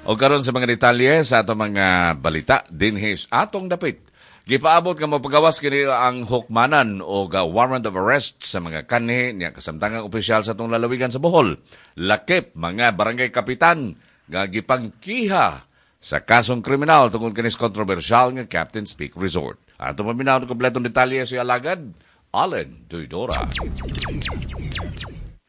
O karon sa mga detalye sa atong mga balita dinhi sa atong dapit. Gipaabot nga mapagawas kini ang hukmanan o warrant of arrest sa mga kanhi niya kasamtangang opisyal sa atong lalawigan sa Bohol. Lakip mga barangay kapitan nga gipangkiha sa kasong kriminal tungod kinis kontrobersyal nga Captain's Peak Resort. Ato paminaw ang kompletong detalye si alagad Allen Duidora.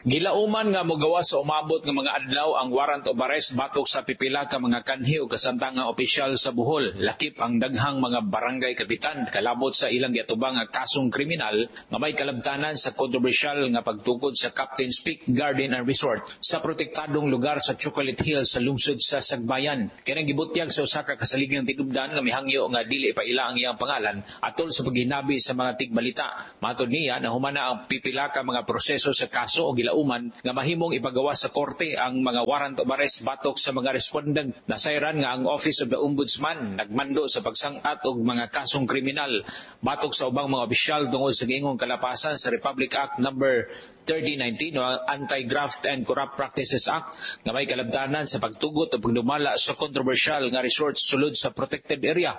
Gilauman nga mogawas sa umabot nga mga adlaw ang warrant of arrest batok sa pipila ka mga kanhi o kasamtangang opisyal sa Bohol, lakip ang daghang mga barangay kapitan kalabot sa ilang giatubang nga kasong kriminal nga may kalabtanan sa kontrobersyal nga pagtukod sa Captain's Peak Garden and Resort sa protektadong lugar sa Chocolate Hill sa lungsod sa Sagbayan. Kini gibutyag sa usa ka kasaligang tinubdan nga mihangyo nga dili pa ila ang iyang pangalan atol sa paghinabi sa mga tigbalita. Matod niya, nahumana ang pipila ka mga proseso sa kaso o gilauman nga mahimong ipagawa sa korte ang mga warrant of arrest batok sa mga respondent. Nasayran nga ang Office of the Ombudsman nagmando sa pagsang-at og mga kasong kriminal batok sa ubang mga opisyal tungod sa giingong kalapasan sa Republic Act number 3019 o ang Anti-Graft and Corrupt Practices Act nga may kalabtanan sa pagtugot o pagdumala sa kontrobersyal nga resort sulod sa protected area.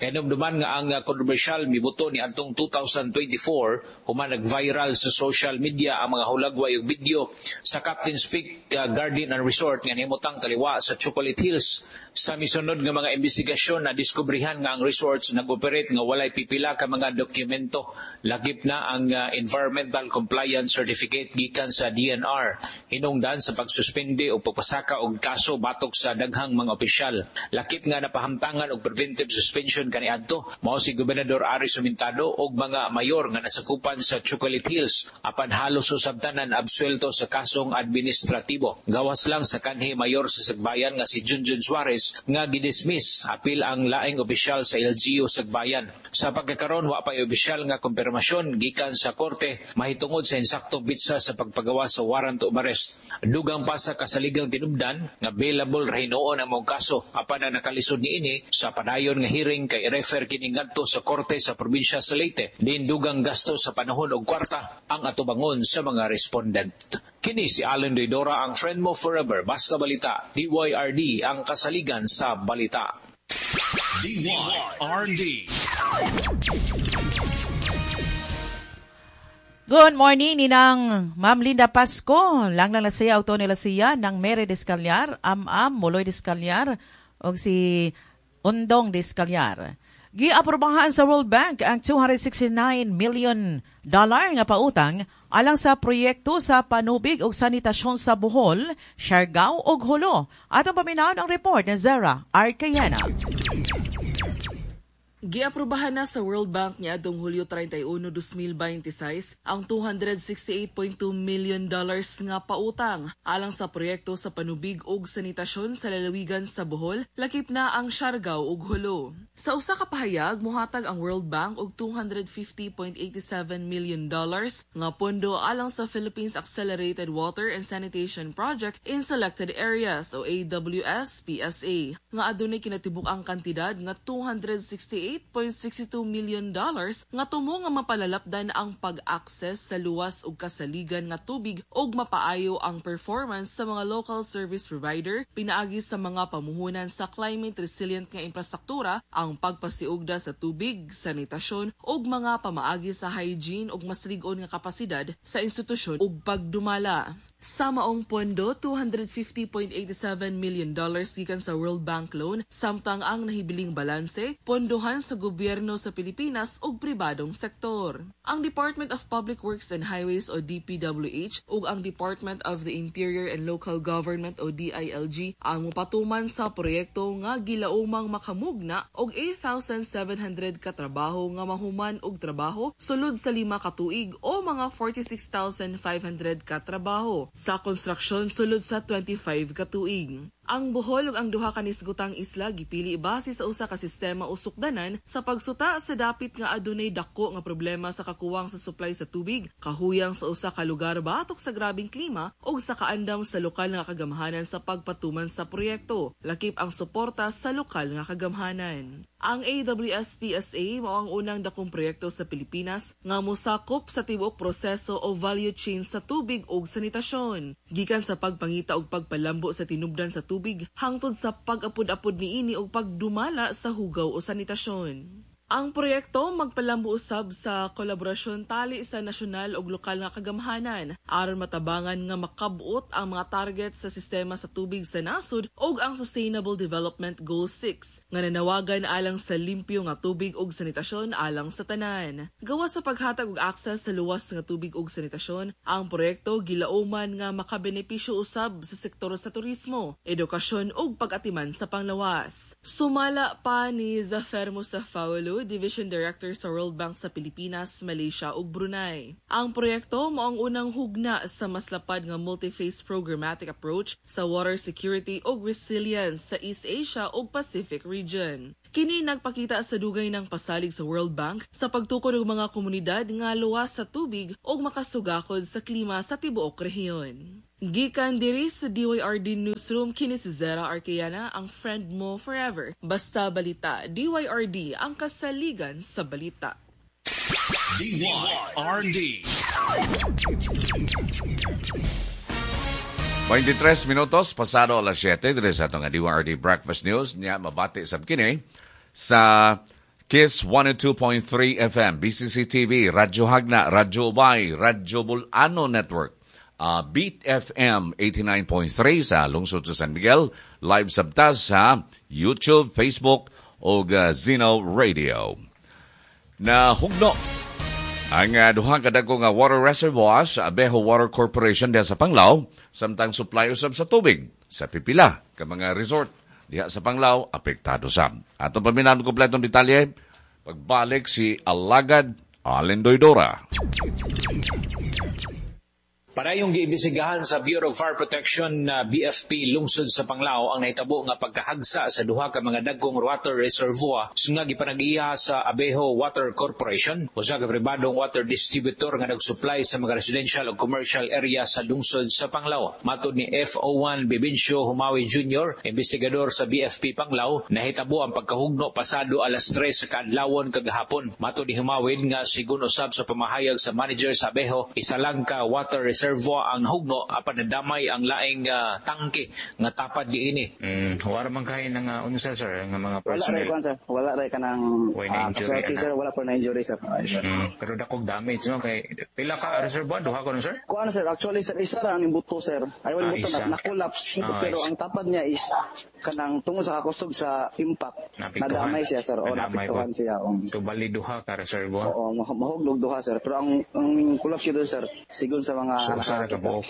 Kahinumduman nga ang kontrobersyal mibuto ni adtong 2024 human nag-viral sa social media ang mga hulagway ug video sa Captain's Peak Garden and Resort nga nahimutang taliwa sa Chocolate Hills. Sa misunod nga mga investigasyon, na diskubrihan nga ang resorts nag-operate nga walay pipila ka mga dokumento, lakip na ang Environmental Compliance Certificate gikan sa DNR, hinungdan sa pagsuspende o pagpasaka og kaso batok sa daghang mga opisyal. Lakip nga napahamtangan og preventive suspension kaniadto mao si Gobernador Aris Sumintado og mga mayor nga nasakupan sa Chocolate Hills, apan halos usab tanan absuelto sa kasong administratibo. Gawas lang sa kanhi mayor sa Sagbayan nga si Junjun Suarez nga gidismiss apil ang laing opisyal sa LGU Sagbayan. Sa pagkakaron, wa pay opisyal nga kumpirmasyon gikan sa korte mahitungod sa insaktong pitsa sa pagpagawa sa warrant of arrest. Dugang pa sa kasaligang tinubdan nga bailable ra hinuon ang mong kaso, apan ang nakalisod niini sa padayon nga hearing kay i-refer kini ngadto sa korte sa probinsya sa Leyte. Din dugang gasto sa panahon og kwarta ang atubangon sa mga respondent. Kini si Allen Doydora, ang friend mo forever. Basta balita, DYRD ang kasaligan sa balita. DYRD. Good morning, Ninang Ma'am Linda Pasco. Lang lang na siya, auto nila siya, ng Mary Descaliar, Am-Am, Muloy Descaliar, o si Undong Descaliar. Giaprobahan sa World Bank ang $269 million nga pautang alang sa proyekto sa panubig ug sanitasyon sa Bohol, Siargao ug Jolo. Atong paminawon ang report ni Zara Arcayana. Giaprobahan na sa World Bank niadtong Hulyo 31, 2026 ang $268.2 million nga pautang alang sa proyekto sa panubig ug sanitasyon sa lalawigan sa Bohol, lakip na ang Siargao ug Jolo. Sa usa ka pahayag, mohatag ang World Bank og $250.87 million nga pondo alang sa Philippines Accelerated Water and Sanitation Project in Selected Areas o AWS PSA nga adunay kinatibuk-ang kantidad nga $268.62 million nga tumo nga mapalalapdan ang pag-access sa luwas ug kasaligan nga tubig ug mapaayo ang performance sa mga local service provider pinaagi sa mga pamuhunan sa climate resilient nga infrastruktura, ang pagpasiugda sa tubig, sanitasyon ug mga pamaagi sa hygiene ug mas lig-on nga kapasidad sa institusyon ug pagdumala. Sa maong pondo, $250.87 million gikan sa World Bank loan, samtang ang nahibiling balanse pondohan sa gobyerno sa Pilipinas ug pribadong sektor. Ang Department of Public Works and Highways o DPWH ug ang Department of the Interior and Local Government o DILG ang mopatuman sa proyekto nga gilaumang makamugna og 8,700 ka trabaho nga mahuman og trabaho sulod sa 5 ka tuig o mga 46,500 ka trabaho sa konstruksyon sulod sa 25 ka tuig. Ang Bohol ug ang duha ka nisgutang isla gipili base sa usa ka sistema o sukdanan sa pagsuta sa dapit nga adunay dako nga problema sa kakuwang sa supply sa tubig, kahuyang sa usa ka lugar batok sa grabeng klima ug sa kaandam sa lokal nga kagamhanan sa pagpatuman sa proyekto, lakip ang suporta sa lokal nga kagamhanan. Ang AWS-PSA mao ang unang dakong proyekto sa Pilipinas nga mosakop sa tibuok proseso o value chain sa tubig ug sanitasyon. Gikan sa pagpangita og pagpalambo sa tinubdan sa tubig hangtod sa pag-apod-apod niini og pagdumala sa hugaw o sanitasyon. Ang proyekto magpalambo usab sa kolaborasyon tali sa nasyonal ug lokal nga kagamhanan aron matabangan nga makabot ang mga target sa sistema sa tubig sa nasod ug ang Sustainable Development Goal 6 nga nanawagan alang sa limpyo nga tubig ug sanitasyon alang sa tanan. Gawas sa paghatag og access sa luwas nga tubig ug sanitasyon, ang proyekto gilauman nga makabenepisyo usab sa sektor sa turismo, edukasyon ug pag-atiman sa panglawas. Sumala pa ni Zafer Mustafaoglu, Division Director sa World Bank sa Pilipinas, Malaysia ug Brunei. Ang proyekto mao ang unang hugna sa mas lapad nga multi-phase programmatic approach sa water security ug resilience sa East Asia ug Pacific region. Kini nagpakita sa dugay ng pasalig sa World Bank sa pagtukod og mga komunidad nga luwas sa tubig ug makasugakod sa klima sa tibuok rehiyon. Gikan diri sa DYRD Newsroom, kini si Zera Arqueana, ang friend mo forever. Basta balita, DYRD ang kasaligan sa balita. DYRD. 23 minutos pasado alas 7 diri sa atong DYRD Breakfast News niya mabati sab kini sa Kiss 102.3 FM, BCC TV, Radyo Hagna, Radyo Ubay, Radyo Bulano Network, Beat FM 89.3 sa lungsod sa San Miguel, live sabtas sa YouTube, Facebook ug Zeno Radio. Nahugno ang duha ka dagko nga water reservoir sa Abejo Water Corporation diha sa Panglao, samtang supply usab sa tubig sa pipila ka mga resort diha sa Panglao apektado sab. Atong paminaon kompletong detalye pagbalik si Alagad Allen Doydora. Parayong giimbestigahan sa Bureau of Fire Protection na BFP lungsod sa Panglao ang nahitabo nga pagkahagsa sa duha ka mga dagkong water reservoir nga gipanag-iya sa Abejo Water Corporation, usa ka pribadong water distributor nga nagsupply sa mga residential ug commercial area sa lungsod sa Panglao. Matod ni FO1 Bibincio Humawi Jr., investigador sa BFP Panglao, nahitabo ang pagkahugno pasado alas 3 sa kaadlawon kagahapon. Matod ni Humawid nga sigon usab sa pamahayag sa manager sa Abejo, isa lang ka water reservoir ang hugno apan nadamay ang laing tangke nga tapad diini. Wala man kay nga unsa sir nga mga personnel. Wala ray sir, wala ray kanang injury sir, wala pa na injury sir. Pero dakog damage no kay pila ka reservoir duha ko sir? Kuan sir, actually sir isa ra ang buto sir. Ay wala buto na collapse pero ang tapad niya is kanang tungod sa kakusog sa impact. Nadamay siya sir, o naapektuhan siya. So bali duha ka reservoir. Oo, mahugnog duha sir. Pero ang collapse yun sir, sigon sa mga so, usa ra ka buok.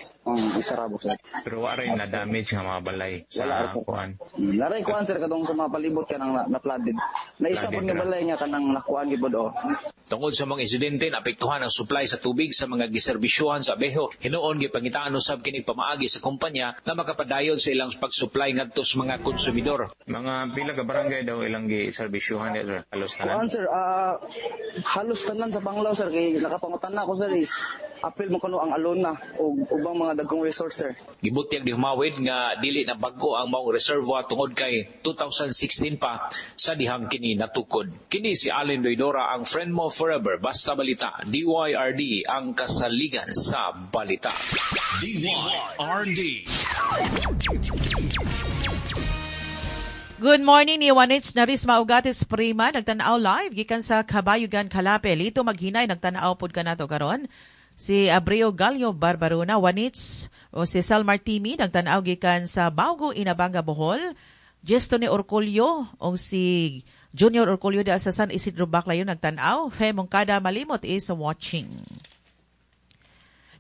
Isa ra buok sir. Pero wa ray na damage nga mga balay sa kuan. Naray kuan sir kadtong sa mga palibot kanang na flooded. Naisa pud nga balay nga kanang nakuan gibod o. Tungod sa mga insidente naapektuhan ang supply sa tubig sa mga giserbisyuhan sa Abejo, hinuon gipangitaan usab kini pamaagi sa kumpanya nga makapadayon sa ilang pag-supply ngadto sa mga konsumidor. Mga pila ka barangay daw ilang giserbisyuhan sir? Halos tanan. Kuan sir, halos tanan sa Panglao sir kay nakapangutan na ako sir is apil mo kuno ang Alona o ubang mga dagkong resort sir. Gibutyag ni Humawid nga dili na bag-o ang maong reservoir tungod kay 2016 pa sa dihang kini natukod. Kini si Allen Doydora, ang friend mo forever. Basta balita, DYRD ang kasaligan sa balita. DYRD. Good morning ni Juanits Narisma Ugatis Prima, nagtan-aw live gikan sa Kabayugan, Kalape. Lito Maghinay, nagtan-aw pod kanato karon. Si Abreo Gallo Barbaruna, Juanits, o si Sal Martimi, nagtan-aw gikan sa Baugo, Inabanga, Bohol. Gesto ni Orcolio o si Junior Orcolio de sa San Isidro Baclayo, nagtan-aw. Fe Moncada Malimot is watching.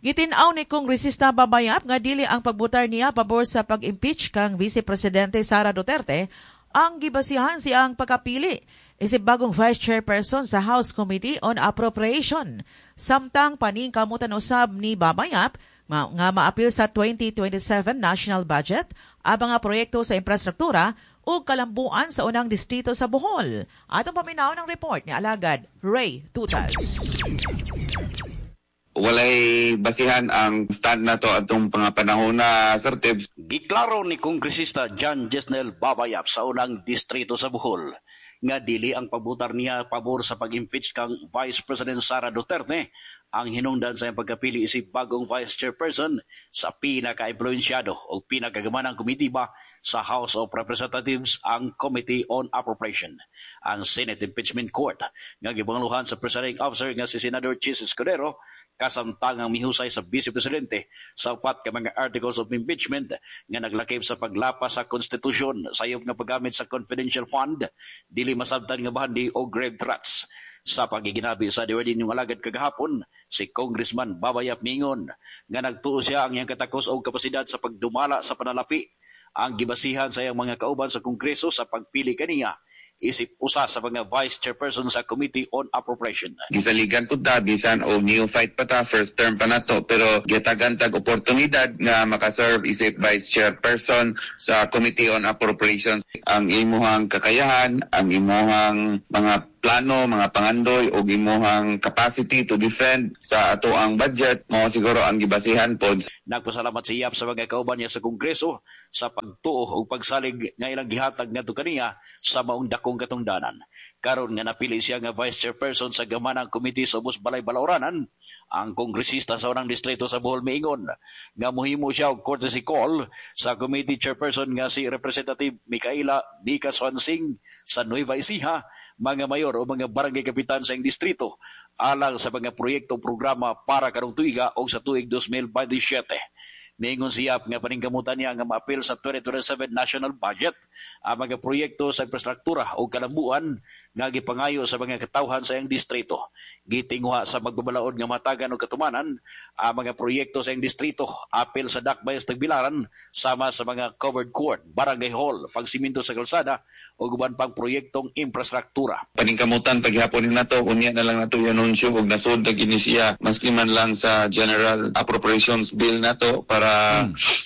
Gitin-aw ni Kongresista Babayap nga dili ang pagbutar niya pabor sa pag-impeach kang Vice Presidente Sara Duterte ang gibasihan siyang pagkapili isip bagong Vice Chairperson sa House Committee on Appropriation. Samtang paningkamutan usab ni Babayap nga maapil sa 2027 national budget abang nga proyekto sa infrastruktura o kalambuan sa unang distrito sa Bohol. Atong paminaw ng report ni Alagad Ray Tutas. Walay basihan ang stand na to atong mga panahon na, Sir Tibbs. Giklaro ni Kongresista John Jesnel Babayap sa unang distrito sa Bohol nga dili ang pagbutar niya pabor sa pag-impeach kang Vice President Sara Duterte Ang hinungdan sa iyang pagkapili isip bagong vice chairperson sa pinaka-impluensyado o pinakagamanang komitiba sa House of Representatives, ang Committee on Appropriation. Ang Senate Impeachment Court nga gipanguluhan sa presiding officer nga si Senador Chis Escudero kasamtangang mihusay sa Vice Presidente sa upat ka mga articles of impeachment nga naglakip sa paglapas sa konstitusyon, sayop nga paggamit sa confidential fund, dili masabtan nga bahandi o grave threats. Sa pagiginabi sa DYRD inyong alagad kagahapon, si Congressman Baba Yap mingon nga nagtuo siya ang iyang katakos o kapasidad sa pagdumala sa panalapi ang gibasihan sa iyang mga kauban sa Kongreso sa pagpili kaniya isip usa sa mga vice chairperson sa Committee on Appropriation. Gisaligan pud ta bisan og neophyte pa ta, first term pa nato, pero gitagan tag oportunidad nga makaserve isip vice chairperson sa Committee on Appropriations. Ang imuhang kakayahan, ang imuhang mga plano, mga pangandoy og imuhang capacity to defend sa ato ang budget mao siguro ang gibasihan pod. Nagpasalamat si Yap sa mga kauban niya sa Kongreso sa pagtuo ug pagsalig nga ilang gihatag ngadto kaniya sa maong dakong katungdanan. Karon nga napili siya nga vice chairperson sa gamanang komite sa ubos balay balauranan, ang kongresista sa unang distrito sa Bohol miingon nga mohimo siya og courtesy call sa committee chairperson nga si Representative Micaela Mika Suansing sa Nueva Ecija, mga mayor o mga barangay kapitan sa iyang distrito alang sa mga proyekto programa para karong tuiga o sa tuig 2027. Miingon si Yap nga paningkamutan niya nga maapil sa 2027 national budget ang mga proyekto sa infrastruktura o kalambuan nga gipangayo sa mga katawhan sa iyang distrito. Gitinguha sa magbabalaod nga matagan og katumanan ang mga proyekto sa iyang distrito apil sa Dakbay sa Tagbilaran sama sa mga covered court, barangay hall, pagsiminto sa kalsada o uban pang proyektong infrastruktura. Paningkamutan paghapon nato, unya na lang nato i-anunsyo og nasud na gini siya maski man lang sa General Appropriations Bill nato para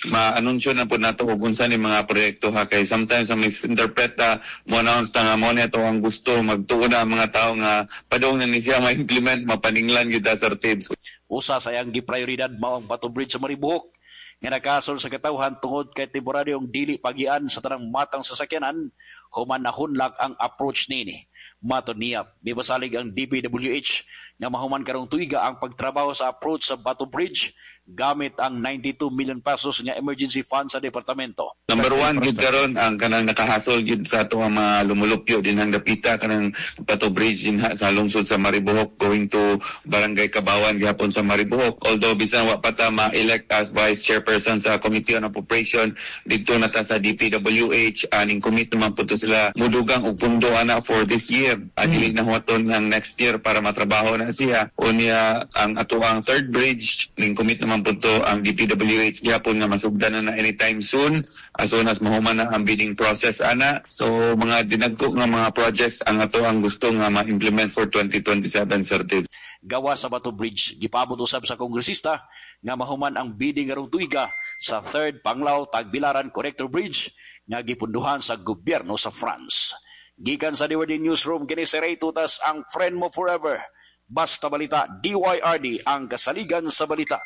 ma-anunsyo na po nato kung unsa ni mga proyekto ha, kay sometimes ang misinterpret ta mo announce ta nga mo ni ato ang gusto, magtuo na ang mga tao nga padung na ni siya ma-implement, mapaninglan gyud ta, Sir Tibbs. Usa sa iyang giprioridad mao ang Bato Bridge sa Maribuhok nga nakasol sa katawhan tungod kay temporaryong dili pagian sa tanang matang sasakyanan human nahunlak ang approach nini. Matod niya, mibasalig ang DPWH nga mahuman karong tuiga ang pagtrabaho sa approach sa Bato Bridge gamit ang 92 million pesos nga emergency fund sa departamento. Number one, gyud karon ang kanang nakahasol gyud sa ato ang mga lumulupyo din ang dapita kanang Bato Bridge dinha sa lungsod sa Maribojoc going to Barangay Cabawan gihapon sa Maribojoc. Although bisan wa pa ta ma-elect as vice chairperson sa Committee on Appropriation didto na ta sa DPWH, aning commit naman po to sila mudugang og pundo ana for this year. Dili na huwaton ang next year para matrabaho na siya. Unya ang ato ang third bridge ning commit naman po to ang DPWH gihapon nga masugdan na anytime soon as soon as mahuman na ang bidding process ana. So mga dinagko nga mga projects ang ato ang gusto nga ma-implement for 2027, Sir Dave. Gawa sa Bato Bridge, gipabot usab sa kongresista nga mahuman ang bidding karong tuiga sa third Panglao Tagbilaran Connector Bridge nga gipunduhan sa gobyerno sa France. Gikan sa DYRD Newsroom, kini si Ray Tutas, ang friend mo forever. Basta balita, DYRD ang kasaligan sa balita.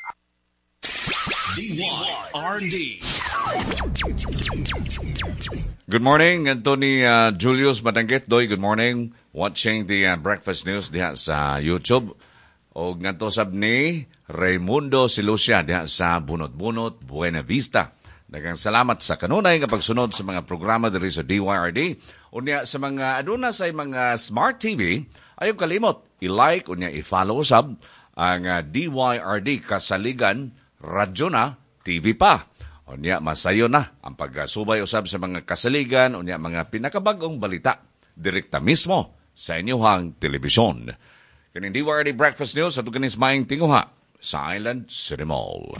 DYRD. Good morning, Anthony Julius Madanggit. Doy, good morning. Watching the breakfast news diha sa YouTube. Og ngadto sab ni Raimundo Silucia diha sa Bunot-Bunot, Buena Vista. Daghang salamat sa kanunay nga pagsunod sa mga programa diri sa DYRD. Unya sa mga aduna sa mga smart TV, ayaw kalimot i-like unya i-follow sab ang DYRD Kasaligan Radyo na TV pa. Unya masayo na ang pagsubay usab sa mga kasaligan unya mga pinakabag-ong balita direkta mismo sa inyong telebisyon. Kining DYRD Breakfast News ato kining maayong tinguha sa Island City Mall.